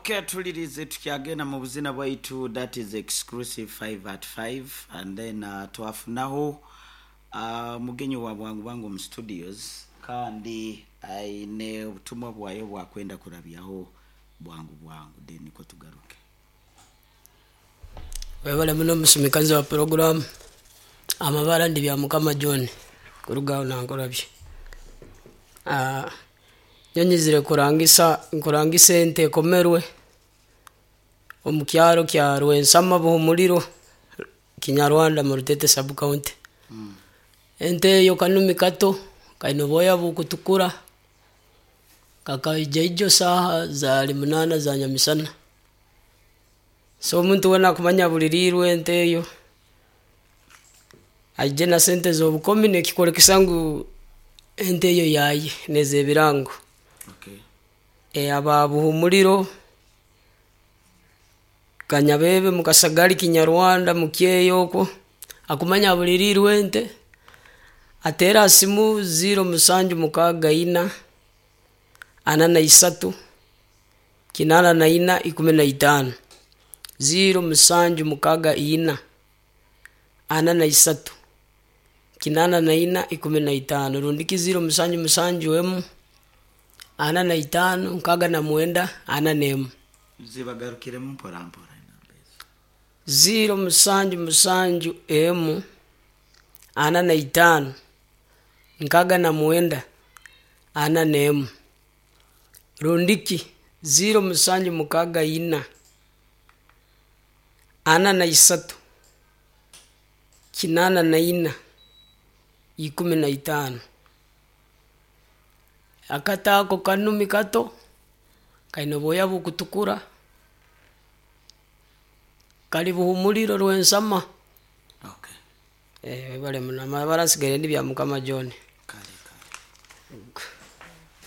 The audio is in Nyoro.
Okay, tulirize tukyagenda mu buzina bwaitu. That is Exclusive 5 at 5. And then twafunaho mugenyi wa bwangu bwangu mu studios, kandi aine obutumwa bwayo bwakwenda kurabyaho bwangu bwangu, then niko tugaruke. Webale muno, omusumikazi wa puroguramu. Amabara ndi bya Mukama John, kuruga aho nankorabye. Nyonyizire kurangisa, nkurangisa ente ekomerwe omu kyaro kya Rwensama, Buhumuliro, Kinyarwanda, mu Rutete Sub County. Ente eyo kanumi kato kaine obwoya bukutukura, kakaija ijo saaha zaali 8 za nyamisana. So omuntu weena akumanya abuliriirwe ente eyo, aije na sente z'obukomi nekikolekesa ngu ente eyo yaye nezebirango. Aba Buhumuliro, Kanyabebe, Mukasagali, Kinyarwanda, Mukyeyo okwo, akumanya abuliriirwe ente, ateera ha simu 0764 43 84 15, 0764 43 84 15, rundiki 0771 45 69 41. Zibagarukiremu mpora mpora enamba ezo. 0771 45 69 41, rundiki 0764 43 84 15. Akato ako kanumi kato kaine obwoya bukutukura, kali Buhumuliro, Rwensama. Webale muno. Amabara nsigaire ndi bya Mukama John.